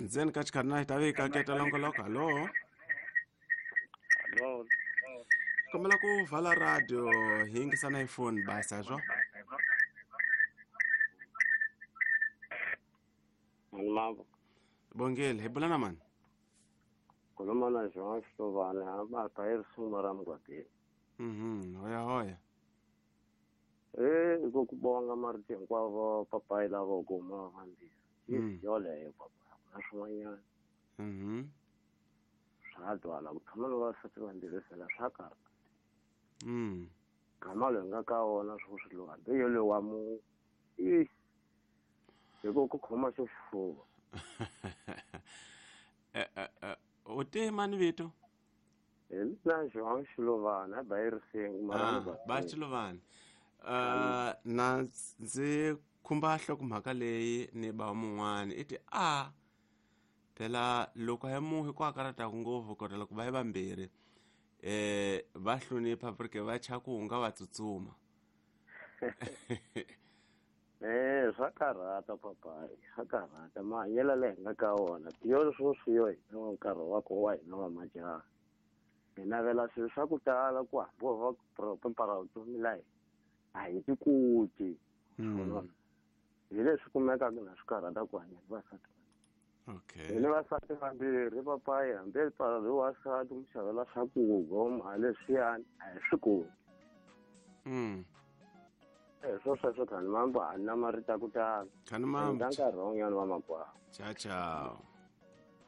Ndzeni ka xikarhi na xitavi ka keta longoloko. Hallo. Hallo. Kombela ku vala radio hi yingisana hi foni basa swo. Mani mavo. Bongile, hi bula na mani? Khuluma na Jean Xilovani, a ba ta hi risimu ra Mugwatini. Hoya hoya. Eh, ku bonga marito hinkwavo papayi lava kuma vambirhi. Yoleyo papa, ku na swin'wanyana. Swa twala ku tshama na vavasati vambirhi fela swa karhata. Gama loyi nga ka wona swo swi lowu hambi yoloye wa mu i hi ku khoma xo xifuva. U te mani vito? Hi mina João Xilovani a ba hi risimu mara Ba Xilovani. Na ndzi khumba nhlokomhaka leyi ni ba mun'wani i ti a phela loko hi muhi ku akarata ngopfu kota loko va yi vambirhi va hlonipha porque va cha ku nga va tsutsuma. Swa karhata papayi, swa karhata mahanyelo leyi hi nga ka wona tiyo sweswi yo hina wa nkarhi wa ko wa hina wa majaha. Hi navela swilo swa ku tala ku hambi va pepara vutomi la hina a hi ti koti. Hi leswi kumekaka na swi karhata ku hanya ni vasati. Okay. Hi ni vasati vambirhi papayi, hambi pala loyi wasati mu xavela swakudya mali leswiyani a hi swi koti. Swo sweswo khani mambo a ni na marito ya ku tala. Khani mambo. Nkarhi wun'wanyana wa makwavo. Ciao ciao.